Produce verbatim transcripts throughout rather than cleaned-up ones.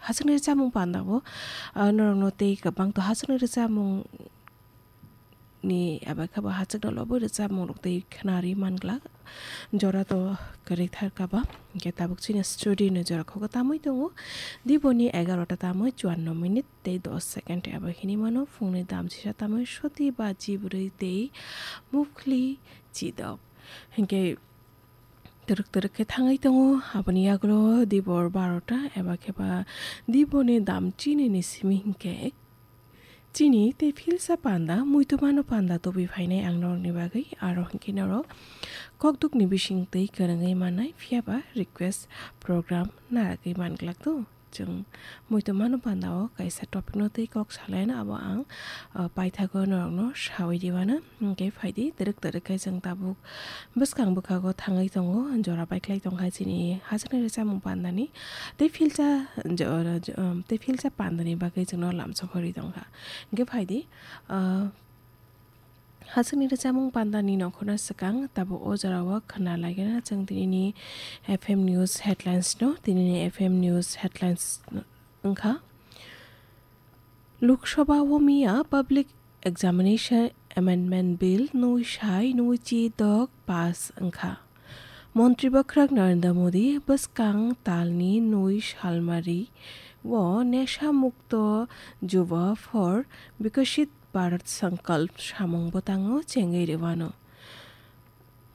Hachwkni rwchapmung pandao, ah, norokno tei kwbangto hachwkni rwchapmung ni eba khe bo hachwkno lobwi rwchapmung rok tei khwnarwi manglak. Jora to kwrwi thar kaba, hwnkhe tabuk chini studio ni jora kho tamwi tongo. Diboni egarota tamwi chuanno minute tei dos second eba hinwi mano, phungni dam sisa tamwi soti baji bwrwi tei mukhli chidok. Hwnkhe twrwk twrwk khe thangwi tongo, aboni yagulo dibor barota eba khe ba diboni dam chini ni simi hwnkhe chini tei philsa panda, muitu mano panda tubui phainai ang norokni bagwi, aro hwnkhe norok kokdukni bising twi kwrwngwi mannai, phiyaba request program naragwi manglak to. Chwng muitu mano panda o kaisa topic no tei kok salaina abo ang, ah, paithago norokno sawi di mano. Hwnkhe phaidi twrwk twrwk khe chwng tabuk bwskang bwkhago thangwi tongo, jora paikhlai tongkha chini hachwkni rwchapmung pandani tei philsa jo-, jo-, um, tei philsa pandani bagwi chwngno lamsok hori tongkha. Hwnkhe phaidi, ah, hachwkni rwchapmung pandani nongkhorna swkang tabuk o jorao khwna laigena chwng tinini F M News headlines no, tinini F M News headlines wngkha. Lok Sabha o miya Public Examination Amendment Bill nui sai nui chi dok pass wngkha. Montri Bwkhwrak Narendra Modi bwskang talni nui salmari o Nesha Mukto Juva for Viksit Bharat Sankalp samung bwtango chengwi rwano.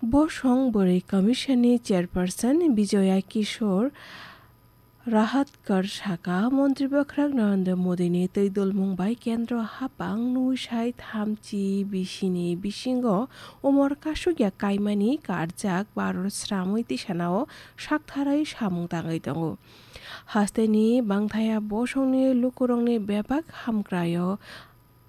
Bosong Bwrwi Commission ni Chairperson Bijoya Kishore Rahatkar saka, Montri Bwkhwrak Narendra Modi ni twi dulmung bai kendro hapang nui sai thamchi bisini bisingo umor kasukya kaimani karjak Bharat sramwi tisanao saktharwi samung tangwi tongo. Hasteni bangthaya bosongni lukurokni bebak hamkraio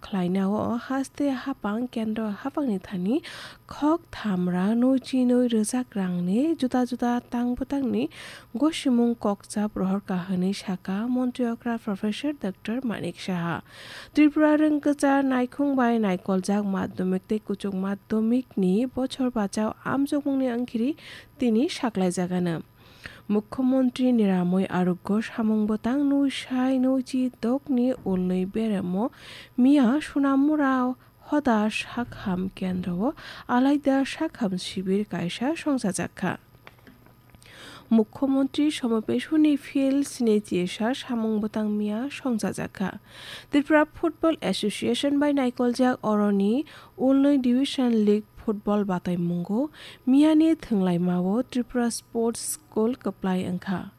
khlainao haste hapang kendro hapangni thani khok thamra nui chinwi rwchak rangni juda juda tang bwtangni gosimung kokchap rohor kahani saka Montri okra Professor Doctor Manik Saha. Tripura rwngkwchar naikhung bai naikoljak madhyamik tei kuchuk madhyamik ni bochor bachao amjokmungni wngkhiri tini saklaijagano. Mukhyamantri Niramoi Arogya samung bwtang nui sai nui chi dokni ulnwi beremo miya Sonamura hoda sakham kendro o alaida sakham sibir kaisa songchajakha. Mukhyamantri Somapesuni field sini chisa samung bwtang miya songchajakha. Tripura Football Association bai naikoljak oroni ulnwi Division League football bataimungo miyani thwnglaimao Tripura Sports School kwplai wngkha.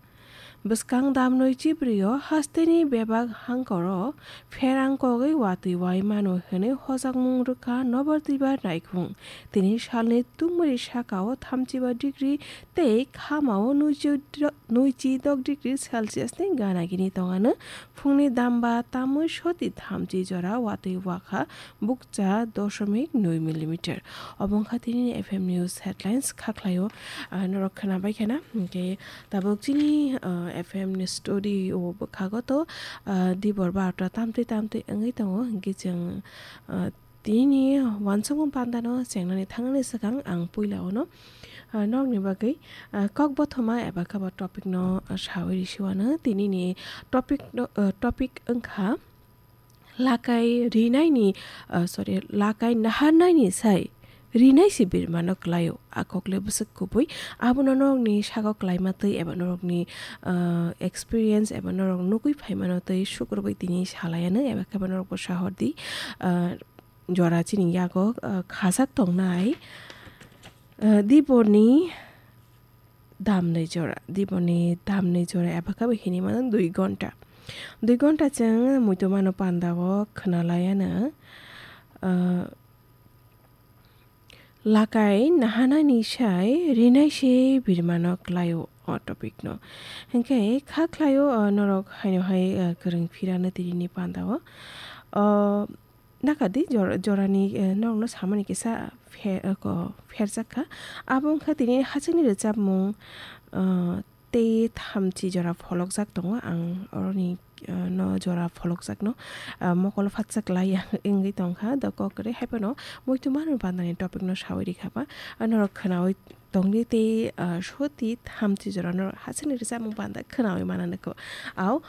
Bwskang damnoi chibrio hasteni bebak hangkoro pherang kogwi watwi wai mano hwnwi hojakmung rwkha Nobar Twibar naikhung. Tini salni tungmari sakao thamchiba degree tei khamao nuichi dok degree Celsius ni gana gini tongano. Phungni damba tamwi soti thamchi jora watwi wakha bukcha dosomik nui millimeter. Obo wngkha tini F M News headlines kha khlaio, ah, norok khwnabai khena. Hwnkhe tabuk chini, ah, F M ni story o bwkhago to, ah, dibor barota tamtwi tamtwi wngwi tongo. Hwnkhe chwng, ah, tini wansukmung pandano chengnani thangnani swkang ang puila ono, ah, nokni bagwi, ah, kok bothoma eba khe bo topic no, ah, sawi risiwano. Tinini topic no, ah, topic wngkha lakai rinaini, ah, sorry, lakai naharnaini sai rinai se birmano klaio. A kokle bwswk kubui. Abono norokni sago klaima twi eba norokni, ah, experience eba norok nugwi phaimano twi sukrubui tini salaiano eba khe bo norokbo sahordi, ah, jora chini yago, ah, khajak tongnai, ah, diboni damnwi jora, diboni damnwi jora eba khe bo hinwi mano dui gonta. Dui gonta chwng muitu mano pandao khwnalaiano, ah, lakai nahanani sai rinai se birmano klaio o topic no. Hwnkhe kha khlaio, ah, norok haino hai, ah, kwrwng phirano tini pandao. O, Nakadi jor-, jorani, eh, norokno samani kisa phe-, eh, ko-, pherjak kha. Abo wngkha tini hachwkni rwchapmung, eh, tei thamchi jora pholokjak tongo. Ang oroni, eh, no jora pholokjakno, eh, mokolo phatsa klai ya wngwi tongkha. Dokok kwrwi haiphano muitu manwi bandani topic no sawi rikha ba. Norok khwnawi tongdi tei, ah, soti thamchi jora norok hachwkni rwchapmung panda khwnawi mana nukho. Au,